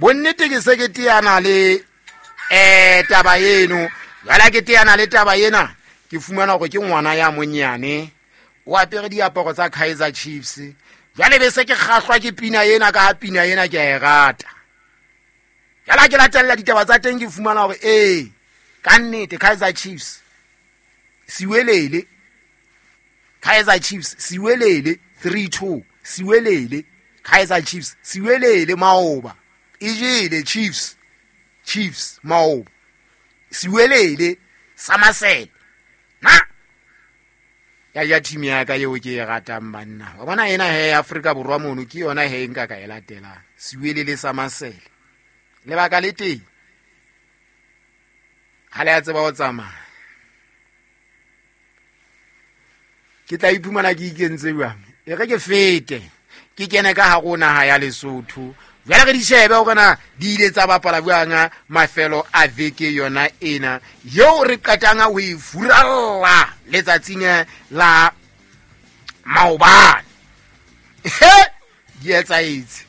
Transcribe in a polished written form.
Bonnete ke se ke teana le taba eno. Jwale ke teana le taba ena, ke fumana hore ke ngwana ya monyane o apere diaparo tsa Kaizer Chiefs. Jwale be se ke kgahlwa ke pina ena, ka ha pina ena ke a e rata. Jwale ha ke latella ditaba tsa teng, ke fumana hore ee, ka nnete Kaizer Chiefs siwelele, Kaizer Chiefs siwelele 3-2, siwelele Kaizer Chiefs siwelele maoba e jele Chiefs, Chiefs maoba siwelele Samasele na ya ja team ya ka eo ke e ratang banna. Wa bona ena he Afrika Borwa mono ke yona he nka ka e latelang, siwelele Samasele. Lebaka le teng ha le a tseba ho tsamaya, ke tla iphumana ke ikentse jwang. E re ke fete ke kene ka hare ho naha ya Lesotho. Jwale re di shebe hore na di ile tsa bapala jwang mafelo a veke yona ena yeo re qetang ho e furalla letsatsing la maobane. He di etsaetse.